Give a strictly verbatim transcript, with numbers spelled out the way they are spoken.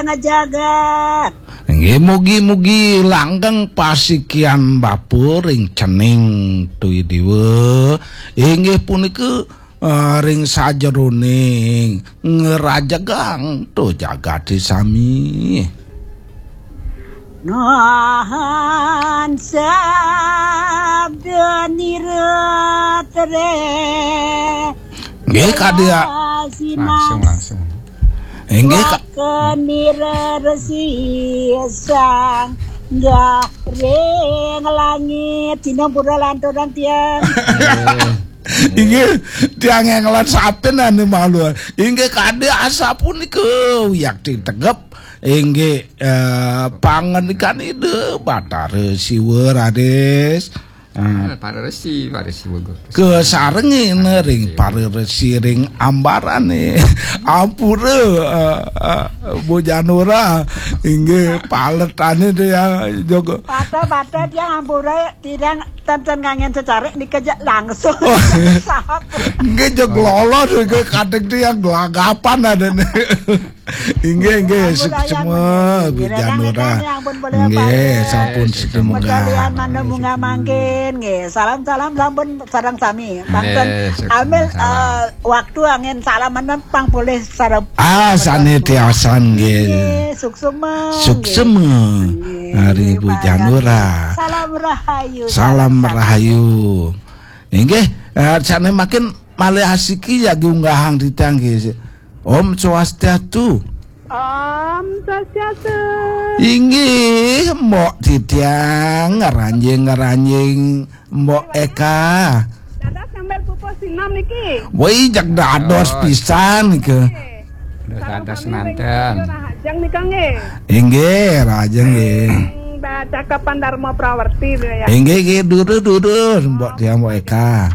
ngajagat. Inggih, mugi-mugi langgeng pasikian bapa ring cening Tui Diwa. Inggih punika, eh, ring sajeroning ngerajegang to jagate sami. Nuhun sabda niratre. Nggih, Kak Dia. Langsung, langsung. Inggih, Kak. Kenira resi sang gah ring langit. Dina pura lanturang tiang. Inggih, tiang engelan satin anu malu. Inggih, kade asapunika wiakti tegep. Inggih, eh, pangandikan Ida Batara Siwa, Raden. Ah, para resi, para resi bagus. Kasarengina ring para resi ring ambarane. Ampura, eh, eh, Bu Janura, inggih paletane dia jaga. Pata-pata dia ampura, tidak ten-ten ngangen secara dikejak langsung. Oh. Sahap. Nggih, jeg lolo nggih, kadek dia gelagapan adane. Inggih, inggih, ampun, suksma, ayam, Bu Janura. Nggih, sampun, suksma. Medalian manda munggah mangkin, nggih. Salam-salam sampun sareng sami. Pangten ambil, eh, waktu angin salam menempang polih sareng. Ah, sane tiasan, nggih. Nggih, suksma, nggih. Suksma. Nggih, Hari Bu Janura. Salam rahayu. Salam rahayu. Inggih, eh, sane makin malih asiki jagi unggahang titiang, nggih. Om Swastiastu. Om Swastiastu. Inggih, Mbok titiang ngeranjing-ngeranjing Mbok Eka. Dados ngambil pupuh sinom niki. Woi, jak dados pisan nika. Dados nanten. Rahajeng nika nggih. Inggih, rahajeng nggih. Ing da cakepan Dharma Prawerti ya. Inggih, nggih, durus, durus, Mbok tiang, Mbok Eka.